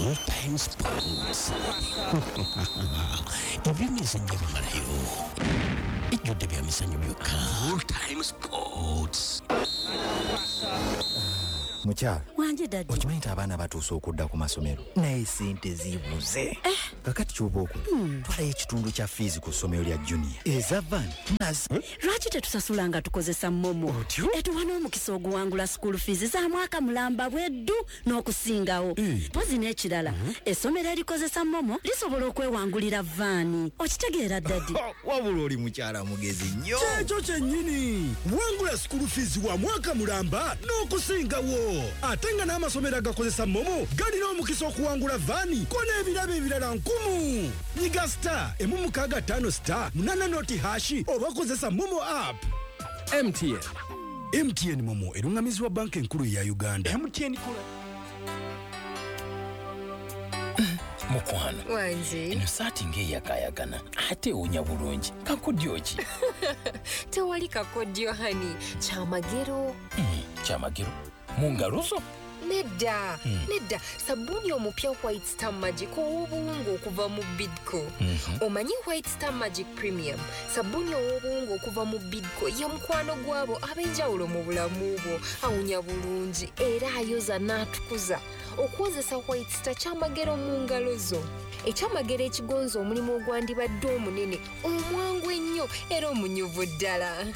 Full Time Sports. Ebyemizannyo bimalayo, ejjudde bya mizannyo byokka. Full Time Sports. Mukyala. Wanje, daddy. Okimanyi nti abaana batuuse okudda ku masomero, naye sente zibuze? Kakati kyoba okola, twalayo ekitundu kya fees ku ssomero lya Junior, eza van nazi. Lwaki tetusasula nga tukozesa MoMo? Otyo? Etuwa n'omukisa oguwangula school fees za mwaka mulamba bweddu n'okusingawo. Mpozi n'ekirala, essomero erikozesa MoMo lisobola okwewangulira van. Okitegeera, daddy? Wabula oli mukyala mugezi nnyo. Kyekyo kyennyini. Wangula school fees wa mwaka mulamba n'okusingawo, ate nga n'amasomero agakozesa MoMo galina omukisa okuwangula van ko n'ebirabo ebirala nkumu. Nyiga *165*80#, oba kozesa MoMo app. MTN. MTN MoMo eruŋŋamizibwa Banka Enkulu eya Uganda. MTN kola. Mukwano. Wangi. Eno saati ng'eyakaayakana, ate ewunya bulungi. Kakodyo ki? Tewali kakodyo, honey, kyamagero. Kyamagero mu ngalo zo? Nedda, nedda. Sabbuuni omupya White Star Magic ow'obuwunga okuva mu Bidco. Omanyi White Star Magic Premium, sabbuuni ow'obuwunga okuva mu Bidco, ye mukwano gwabo ab'enjawulo mu bulamu bwo. Awunya bulungi era ayoza n'atukuza. Okwozesa White Star kyamagero mu ngalo zo, ekyamagero ekigonza omulimu ogwandibadde omunene, omwangu ennyo era omunyuvu ddala.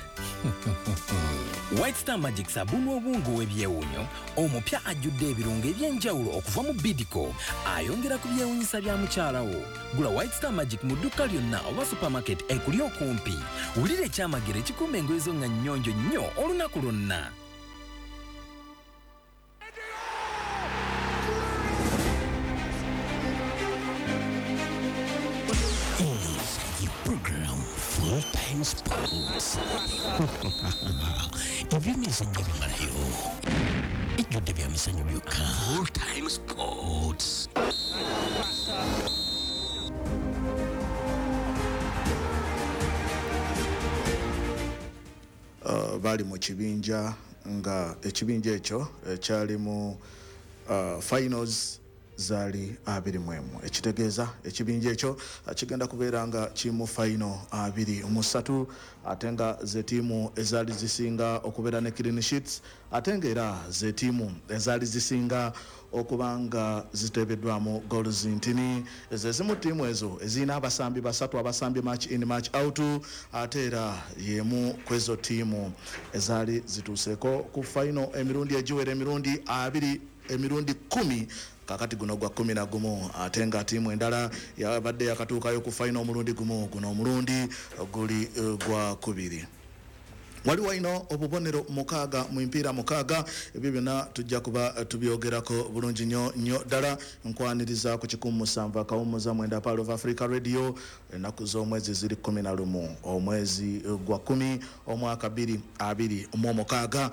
White Star Magic, sabbuuni obuwunga ow'ebyewuunyo omupya ajjudde ebirungo eby'enjawulo okuva mu Bidco, ayongera ku byewuunyisa bya mukyala wo. Gula White Star Magic mu dduuka lyonna oba supermarket ekuli okumpi. Wulira ekyamagero ekikuuma engoye zo nga nnyonjo nnyo olunaku lwonna. Is program Full Time Sports. Ebyemizannyo bimalayo, ejjudde bya mizannyo byokka. Full Time Sports. Bali mu kibinja nga ekibinja ekyo kyalimu finals zaali 21, ekitegeeza ekibinja ekyo kigenda kubeera nga kimu final 23, ate nga ze ttiimu ezaali zisinga okubeera ne clean sheets, ate nga era ze ttiimu ezaali zisinga okuba nga ziteebeddwamu goals ntini. Ze zimu ttiimu ezo ezirina abasambi basatu abasambye match in, match out, ate era yemu ku ezo ttiimu ezaali zituuseeko ku final emirundi egiwera emirundi abiri, emirundi 10. Kakati guno gwa 11, ate nga ttiimu endala yabadde yakatuukayo ku final omulundi gumu, guno omulundi guli gwa kubiri. Waliwo ino obubonero 6 mu mipiira 6. Ebyo byonna tujja kuba tubyogerako bulungi nnyo nnyo ddala. Nkwaniriza ku 107.9 Pearl of Africa Radio. Ennaku z'omwezi ziri 11, omwezi gwa 10, omwaka 2026.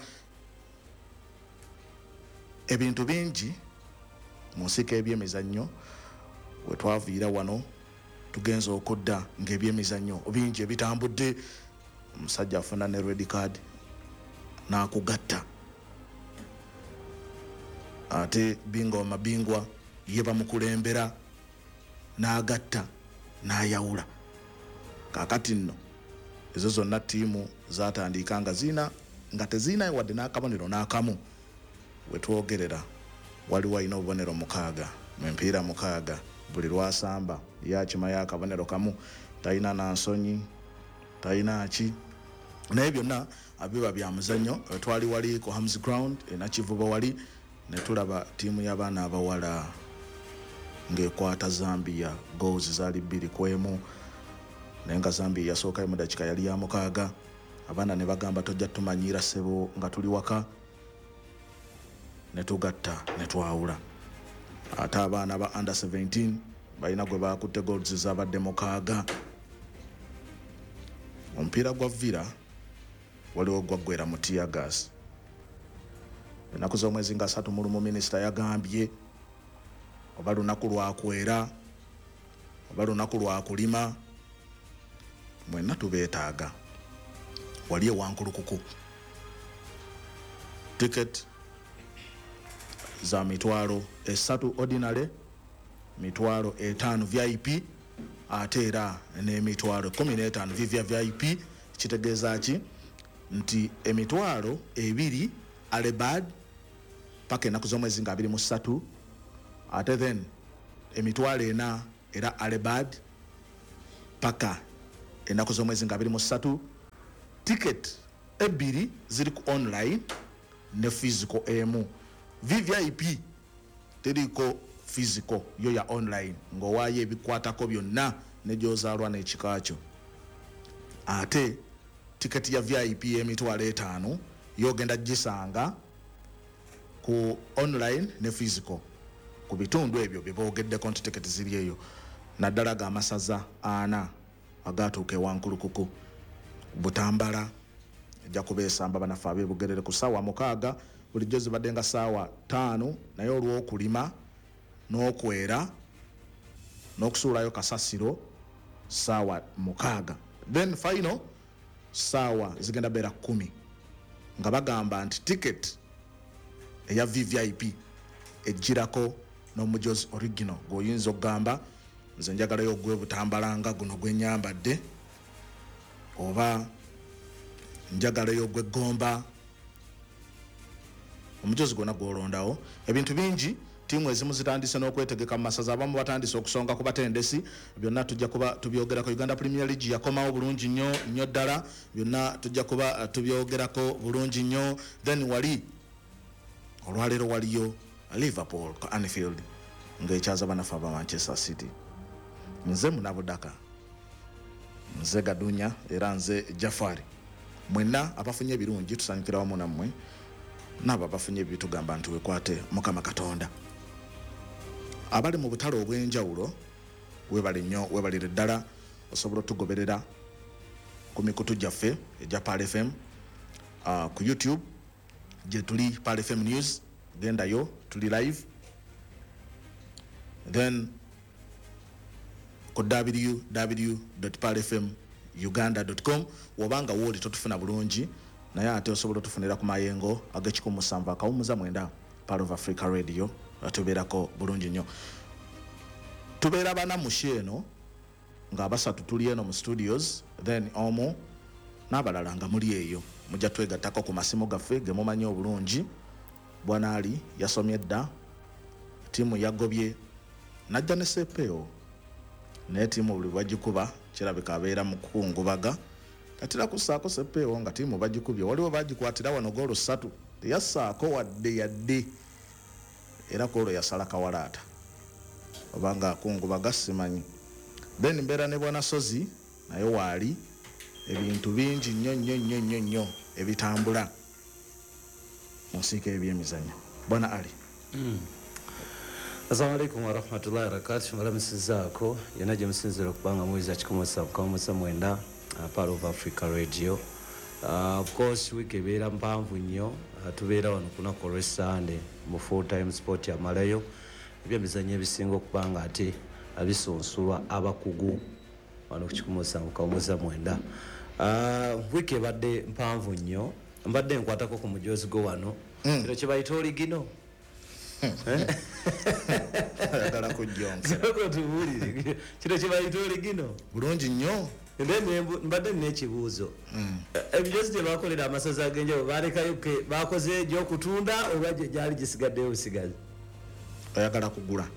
Ebintu bingi mu nsiko ebyemizannyo. We twaviira wano tugenza okudda ng'ebyemizannyo bingi ebitambudde. Omusajja afuna ne red card n'akugatta, ate bingwa mabingwa ye bamukulembera n'agatta n'ayawula. Kaakati nno ezo zonna ttiimu zatandika nga zina nga tezirina wadde n'akabonero n'akamu. Wetwogerera waliwo alina obubonero 6 mu mipiira 6. Buli lwasamba yakimayo akabonero kamu, talina nansonyi, talina ki, naye byonna biba bya muzannyo. Twali wali ku Hams Ground enakivubo wali ne tulaba ttiimu y'abaana abawala ng'ekwata Zambia, goals zaali 2-1, naye nga Zambia yasookayo mu dakiika yali ya 6. Abaana ne bagamba, "Tojja tumanyiira ssebo nga tuli waka," ne tugatta ne twawula. Ate abaana ba under 17 balina gwe bakutte, goals zabadde 6. Omupiira gwa Villa waliwo gwaggwera mu teargas. Ennaku z'omwezi nga 31, minisita yagambye oba lunaku lwakwera oba lunaku lwakulima, mwenna tubeetaaga wali ewankulukuku. Ticket za 30,000 ordinary. 50,000 VIP, ate era n'emitwalo 15 VVIP. Kitegeeza ki? Nti 20,000 early bird paka ennaku z'omwezi nga 23, ate then 40,000 era early bird paka ennaku z'omwezi nga 23. Ticket 2 ziri ku online ne physical emu. VVIP teriko physical, yo ya online ng'owaayo ebikwatako byonna ne gy'ozaalwa n'ekika kyo. Ate tiketi ya VIP 50,000 yogenda gisanga ku online ne physical ku bitundu ebyo bye boogeddeko nti tiketi ziri eyo, naddala ga masaza 4 agatuuka ewankulukuku. Butambala ejja kubeesamba bannaffe ab'ebugerere ku ssaawa 6, bulijjo zibadde nga ssaawa 5, naye olw'okulima n'okwera n'okusuulayo kasasiro ssaawa 6. Then final ssaawa zigenda beera 10, nga bagamba nti ticket eya VVIP ejjirako n'omujozi original gw'oyinza okugamba nze njagalayo ogwe Butambala nga guno gwe nnyambadde, oba njagalayo ogw'eggomba, omujozi gwonna gw'olondawo. Ebintu bingi, ttiimu ezimu zitandise n'okwetegeka mu masaza, abamu batandise okusonga ku batendesi, byonna tujja kuba tubyogerako. Uganda Premier League yakomawo bulungi nnyo nnyo ddala, byonna tujja kuba tubyogerako bulungi nnyo. Then wali olwaleero waliyo Liverpool ku Anfield ng'ekyaza bannaffe aba Manchester City. Nze Munabudaka, nze Gadunya, era nze Jafari. Mwenna abafunye ebirungi tusanyukira wamu nammwe, n'abo abafunye ebibi tugamba nti wekwate Mukama Katonda. Abali mu butale obw'enjawulo webale nnyo, webalire ddala. Osobola otugoberera ku mikutu gyaffe egya Pearl FM, ku YouTube gye tuli Pearl FM News, gendayo tuli live. Then ku www.pearlfmuganda.com wobanga wooli totufuna bulungi, naye ate osobola otufunira ku mayengo ag'e107.9 Pearl of Africa Radio, tubeerako bulungi nnyo. Tubeera bana mu show eno nga basatu tuli eno mu studios, then omu n'abalala nga muli eyo. Mujja twegattako ku masimu gaffe ge mumanyi obulungi. Bwana Ali yasomye dda, ttiimu yagobye najja ne sepeewo, naye ttiimu buli bagikuba kirabika abeera mu kukungubaga. Katera kussaako sepeewo nga ttiimu bagikubye, waliwo bagikwatira wano goolo 3, teyassaako wadde yadde, era ku olwo yasala kawalaata obanga akungubaga simanyi. Then mbeera ne Bwana Sozi naye waali, ebintu bingi nnyo nnyo nnyo nnyo nnyo ebitambula mu nsiike y'ebyemizannyo. Bwana Ali. Assalamu alaikum warahmatullahi wabarakatuh. Mbalamusizaako yonna gye musinziira okubanga muwuliza 107.9 Pearl of Africa Radio. Of course wiiki ebeera mpanvu nnyo, tubeera wano ku lunaku olw'Essande mu full time sport yamalayo ebyemizannyo ebisinga okuba nga ate abisunsulwa abakugu wano ku 107.9. Wiiki ebadde mpanvu nnyo, mbadde nkwatako ku mujozi gwo wano, kino kye bayita oligino. Ayagala kujjonkera. Tubuulire kino kye bayita oligino bulungi nnyo. Mbadde nina ekibuuzo, emijozi gye bakolera amasaza ag'enjawulo balekayo bakoze egy'okutunda oba gyali gisigaddeyo busigazi? Oyagala kugula?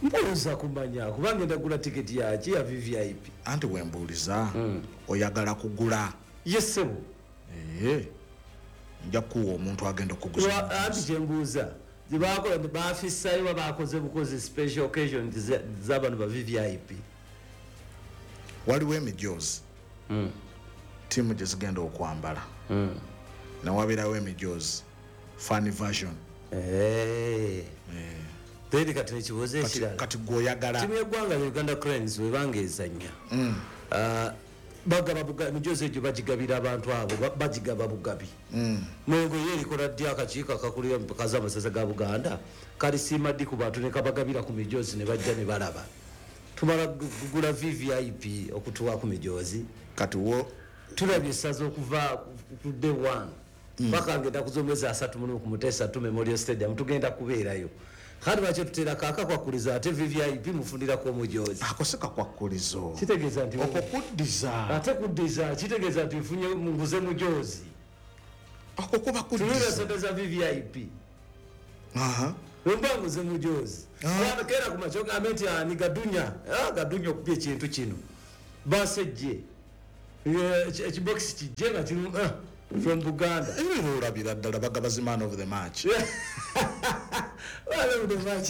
Mbuuza kumanya kubanga ngenda kugula tiketi yaki ya VVIP. Anti wembuuliza, oyagala kugula? Yes ssebo. Nja kuwa omuntu agenda okuguza. Anti kyembuuza, gyebakola bafissayo oba bakoze bukozi special occasion z'abano ba VVIP? Waliwo emijoozi ttiimu gye zigenda okwambala, newabeerawo emijoozi fan version. Then kati ekibuuzo ekirala, kati gweoyagala ttiimu y'eggwanga ya Uganda Cranes webanga ezannya, bagaba emijozi egyo bagigabira abantu abo, bagigaba bugabi. Mwengo ye erikola ddi akakiiko akakulira empaka z'amasaza ga Buganda kalisiima ddi ku bantu ne kabagabira ku mijozi ne bajja ne balaba? Tumala kugula VVIP okutuwa ku mijozi. Kati wo tulabye essaza okuva ku day 1 paka ngenda ku z'omwezi 31 ku Muteesa II Memorial Stadium, tugenda kubeerayo. Kati lwaki tuteerako akakwakulizo, ate VVIP mufunirako omujoozi? Ako si kakwakulizo. Kitegeeza nti okwo kuddiza. Ate kuddiza kitegeeza nti nfunye, nguze mujoozi. Okwo kuba Tunula kuddiza. sente za VVIP. Wemba nguze mujoozi, keera ku makyo gambe nti ani Gadunya? Ah, Gadunya okubya ekintu kino, basejje ekibokisi kijje nga kirimu "From Buganda." Ebyo olabira ddala bagabazi man of the match. Man of the match.